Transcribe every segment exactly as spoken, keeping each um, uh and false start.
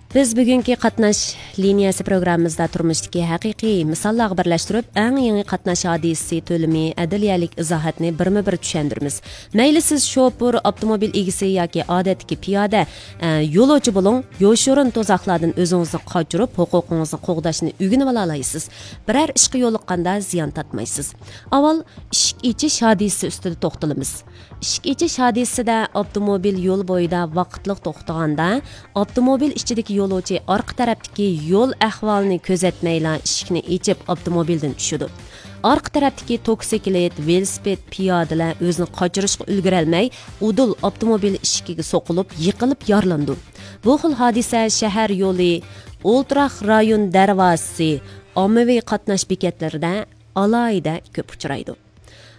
بىز بۈگۈنكى قاتناش لىنىيەسى پروگراممىمىزدا تۇرمۇشتىكى ھەقىقىي مىساللارغا بىرلەشتۈرۈپ، ئەڭ يېڭى قاتناش ھادىسىسى تۆلىمى ئەدلىيەلىك ئىزاھاتنى بىرمۇ بىر چۈشەندۈرىمىز. مەيلى سىز شوپۇر، ئاپتوموبىل ئىگىسى ياكى ئادەتتىكى پىيادە، ئە، يولۇچى بولۇڭ، يوشۇرۇن تۇزاقلاردىن ئۆزىڭىزنى قاچۇرۇپ، ھوقۇقىڭىزنى قوغداشنى ئۆگىنىۋالالايسىز. بىرەر ئىشقا يولۇققاندا زىيان تارتمايسىز. ئاۋۋال ئىشىك ئېچىش ھادىسىسى ئۈستىدە توختىلىمىز. ئىشىك ئېچىش ھادىسىسىدە ئاپتوموبىل يول بويىدا ۋاقىتلىق توختىغاندا، ئاپتوموبىل ئىچىدىكى يولۇچى ئارقا تەرەپتىكى يول ئەھۋالىنى كۆزەتمەيلا ئىشىكنى ئېچىپ ئاپتوموبىلدىن چۈشىدۇ. ئارقا تەرەپتىكى توكسىكلىت، ۋېلىسىپىت، پىيادىلەر ئۆزىنى قاچۇرۇشقا ئۈلگۈرەلمەي، ئۇدۇل ئاپتوموبىل ئىشىكىگە سوقۇلۇپ، يىقىلىپ يارىلىنىدۇ. بۇ خىل ھادىسە شەھەر يولى، ئولتۇراق رايون دەرۋازىسى، ئاممىۋى قاتناش بېكەتلىرىدە ئالاھىدە كۆپ ئۇچرايدۇ.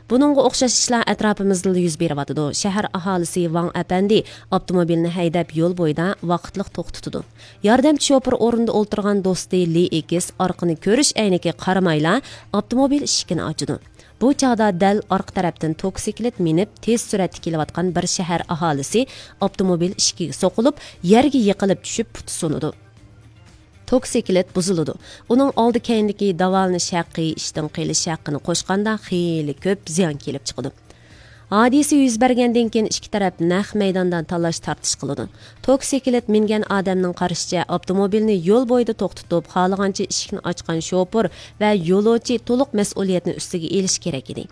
بۇنىڭغا ئوخشاش ئىشلار ئەتراپىمىزدىلا يۈز بېرىۋاتىدۇ. شەھەر ئاھالىسى ۋاڭ ئەپەندى ئاپتوموبىلنى ھەيدەپ يول بويىدا ۋاقىتلىق توختىتىدۇ. ياردەمچى شوپۇر ئورنىدا ئولتۇرغان دوستى لى ئېكس ئارقىنى كۆرۈش ئەينىكىگە قارىمايلا ئاپتوموبىل ئىشىكىنى ئاچىدۇ. بۇ چاغدا دەل ئارقا تەرەپتىن توكسىكلىت مىنىپ تېز سۈرئەتتە كېلىۋاتقان بىر شەھەر ئاھالىسى ئاپتوموبىل ئىشىكىگە سوقۇلۇپ، يەرگە يىقىلىپ چۈشۈپ پۇتى سۇنىدۇ. توكسىكلىت بۇزۇلىدۇ. ئۇنىڭ ئالدى كەينىدىكى داۋالىنىش ھەققى، ئىشتىن قېلىش ھەققىنى قوشقاندا خېلى كۆپ زىيان كېلىپ چىقىدۇ. ھادىسە يۈز بەرگەندىن كېيىن ئىككى تەرەپ نەق مەيداندا تالاش تارتىش قىلىدۇ. توكسىكلىت مىنگەن ئادەمنىڭ قارىشىچە ئاپتوموبىلنى يول بويىدا توختىتىپ، خالىغانچە ئىشىكنى ئاچقان شوپۇر ۋە يولۇچى تولۇق مەسئۇلىيەتنى ئۈستىگە ئېلىشى كېرەك ئىدى.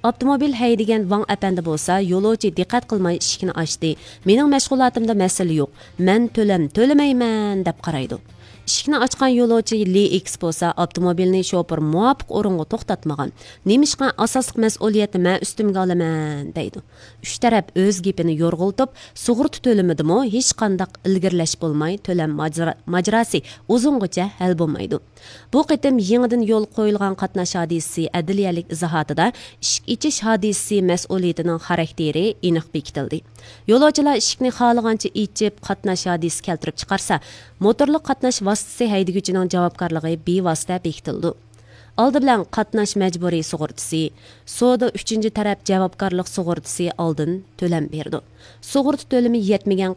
ئاپتوموبىل ھەيدىگەن ۋاڭ ئەپەندى بولسا يولۇچى دىققەت قىلماي ئىشىكنى ئاچتى. مېنىڭ مەشغۇلاتىمدا مەسىلە يوق. مەن تۆلەم تۆلىمەيمەن دەپ قارايدۇ. ئىشىكنى ئاچقان يولۇچى لى ئېكس بولسا ئاپتوموبىلنى شوپۇر مۇۋاپىق ئورۇنغا توختاتمىغان. نېمىشقا ئاساسلىق مەسئۇلىيەتنى مەن ئۈستۈمگە ئالىمەن دەيدۇ. ئۈچ تەرەپ ئۆز گېپىنى يورغىلىتىپ، سۇغۇرتا تۆلىمىدىمۇ ھېچقانداق ئىلگىرىلەش بولماي تۆلەم ماجرا-، ماجىراسى ئۇزۇنغىچە ھەل بولمايدۇ. بۇ قېتىم يېڭىدىن يولغا قويۇلغان قاتناش ھادىسىسى ئەدلىيەلىك ئىزاھاتىدا ئىشىك ئېچىش ھادىسىسى مەسئۇلىيىتىنىڭ خاراكتېرى ئېنىق بېكىتىلدى. يولۇچىلار ئىشىكنى خالىغانچە ئېچىپ، قاتناش ھادىسىسى كەلتۈرۈپ چىقارسا، موتورلۇق قاتناش ۋاسىتىسى ھەيدىگۈچىنىڭ جاۋابكارلىقى بىۋاسىتە بېكىتىلىدۇ. ئالدى بىلەن قاتناش مەجبۇرىي سۇغۇرتىسى، سودا ئۈچىنچى تەرەپ جاۋابكارلىق سۇغۇرتىسى ئالدىن تۆلەم بېرىدۇ. سۇغۇرتا تۆلىمى يەتمىگەن